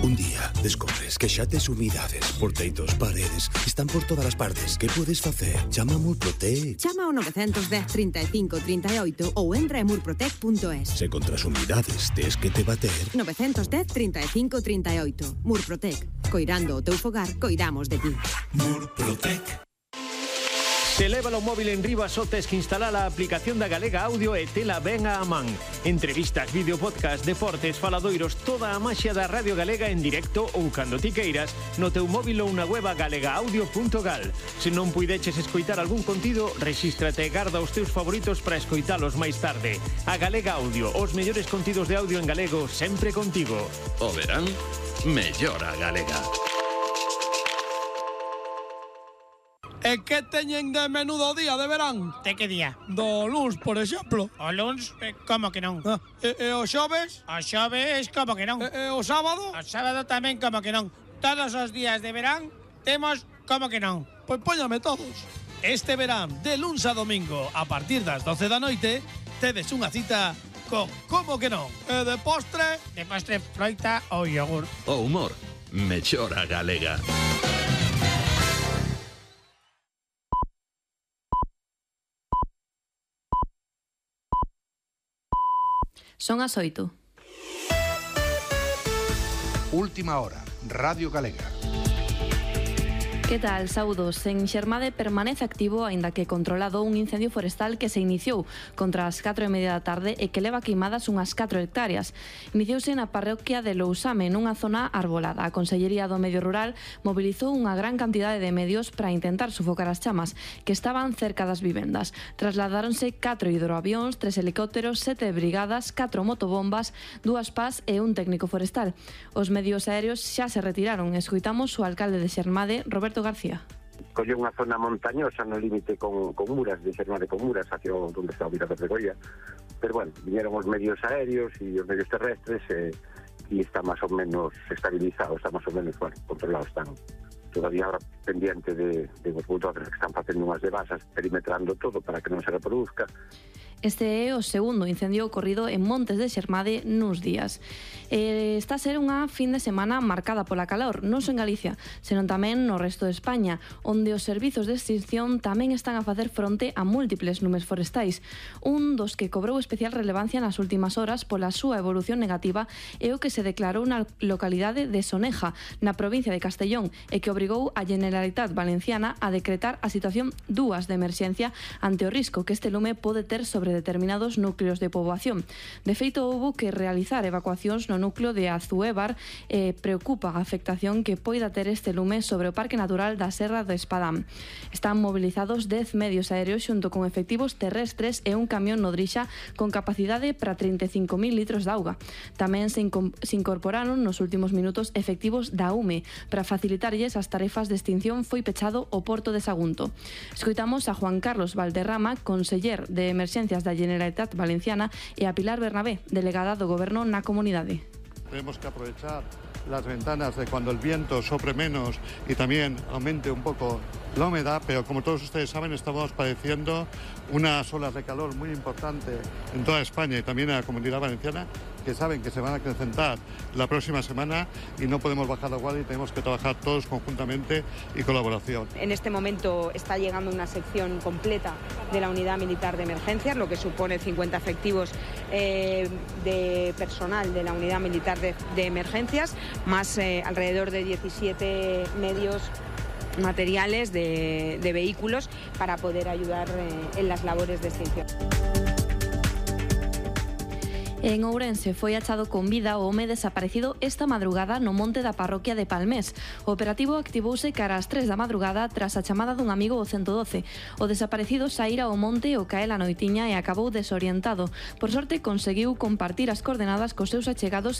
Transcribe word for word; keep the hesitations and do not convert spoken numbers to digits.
Un día descobres que xa tes humidades por teitos, paredes, están por todas as partes. Que podes facer? Chama a Murprotec. Chama ao nove un cero, trinta e cinco, trinta e oito ou entra en murprotec punto es. Se contra as humidades tes que te bater... nove un cero, trinta e cinco, trinta e oito. Murprotec. Coirando o teu fogar, coidamos de ti. Murprotec. Se leva o móvil en riba só tes que instalar a aplicación da Galega Audio e tela ben a man. Entrevistas, vídeo, podcast, deportes, faladoiros, toda a maxia da Radio Galega en directo ou cando ti queiras no teu móvil ou na web galega audio punto gal. Se non puideches escoitar algún contido, rexístrate e garda os teus favoritos para escoitalos máis tarde. A Galega Audio, os mellores contidos de audio en galego sempre contigo. O verán, mellora Galega. E que teñen de menudo día de verán? De que día? Do luns, por exemplo. O luns, eh, como que non? Ah, e, e o xoves? O xoves, como que non? E, e o sábado? O sábado tamén, como que non? Todos os días de verán temos como que non? Pois póñame todos. Este verán, de luns a domingo, a partir das doce da noite, tedes unha cita con como que non? E de postre? De postre, froita ou yogur. O humor, mellora Galega. Son as oito. Última hora, Radio Galega. Que tal? Saúdos. En Xermade permanece activo, aínda que controlado, un incendio forestal que se iniciou contra as catro e media da tarde e que leva queimadas unhas catro hectáreas. Iniciouse na parroquia de Lousame, nunha zona arbolada. A Consellería do Medio Rural mobilizou unha gran cantidade de medios para intentar sufocar as chamas, que estaban cerca das vivendas. Trasladáronse catro hidroavións, tres helicópteros, sete brigadas, catro motobombas, dúas pás e un técnico forestal. Os medios aéreos xa se retiraron. Escoitamos o alcalde de Xermade, Roberto García. Colle unha zona montañosa no límite con, con Muras, de Xermade con Muras, hacia onde está o Mirador de Goya. Pero bueno, vinieron os medios aéreos e os medios terrestres e, e está máis ou menos estabilizado, está máis ou menos, bueno, controlado. Están todavía ahora pendiente de, de os bulldozers que están facendo unhas devasas, perimetrando todo para que non se reproduzca. Este é o segundo incendio ocorrido en Montes de Xermade nuns días. Eh, está a ser unha fin de semana marcada pola calor, non só en Galicia, senón tamén no resto de España, onde os servizos de extinción tamén están a facer fronte a múltiples lumes forestais. Un dos que cobrou especial relevancia nas últimas horas pola súa evolución negativa é o que se declarou na localidade de Soneja, na provincia de Castellón, e que obrigou a Generalitat Valenciana a decretar a situación dúas de emerxencia ante o risco que este lume pode ter sobre determinados núcleos de poboación. De feito, houbo que realizar evacuacións no núcleo de Azuévar e preocupa a afectación que poida ter este lume sobre o Parque Natural da Serra do Espadán. Están movilizados dez medios aéreos xunto con efectivos terrestres e un camión nodrixa con capacidade para trinta e cinco mil litros de auga. Tamén se, se incorporaron nos últimos minutos efectivos da U M E para facilitarlles as tarefas de extinción. Foi pechado o porto de Sagunto. Escoitamos a Juan Carlos Valderrama, conseller de Emerxencias da Generalitat Valenciana, e a Pilar Bernabé, delegada do Goberno na comunidade. Tenemos que aprovechar las ventanas de cuando el viento sopre menos y también aumente un poco la humedad, pero como todos ustedes saben, estamos padeciendo unas olas de calor muy importantes en toda España y también en la Comunidad Valenciana, que saben que se van a acrecentar la próxima semana y no podemos bajar la guardia y tenemos que trabajar todos conjuntamente y colaboración. En este momento está llegando una sección completa de la Unidad Militar de Emergencias, lo que supone cincuenta efectivos eh, de personal de la Unidad Militar de, de Emergencias, más eh, alrededor de diecisiete medios materiales de, de vehículos para poder ayudar eh, en las labores de extinción. En Ourense foi achado con vida o home desaparecido esta madrugada no monte da parroquia de Palmés. O operativo activouse cara ás tres da madrugada tras a chamada dun amigo ao ciento doce. O desaparecido saíra ao monte o cae la noitiña e acabou desorientado. Por sorte, conseguiu compartir as coordenadas cos seus achegados